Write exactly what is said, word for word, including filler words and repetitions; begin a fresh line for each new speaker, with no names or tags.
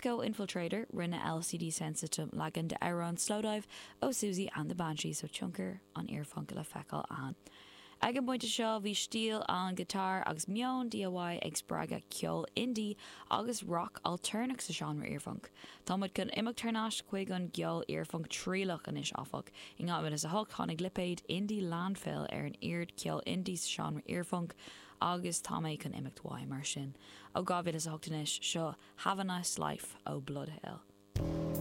Disco Infiltrator rinne LCD Soundsystem leagan d'amhrán Slowdive ó Siouxsie and the Banshees so tionchar an iarphunk le feiceáil ann. Ag an bpointe seo bhí stíl an guitar agus meon DIY ag spreagadh ceol indie agus rock altarnach sa seánra iarphunk. Tá muid chun imeacht thar n-ais chuig an gceol iarphunk trialach anois áfach. In dhá mhíle is a hocht tháinig lipéad Indie Landfill ar an fhód ceol indie sa seánra iarphunk agus tá mé chun imeacht uaidh mar sin. Ó dhá mhíle is a hocht anois seo Have a Nice Life ó Bloodhail.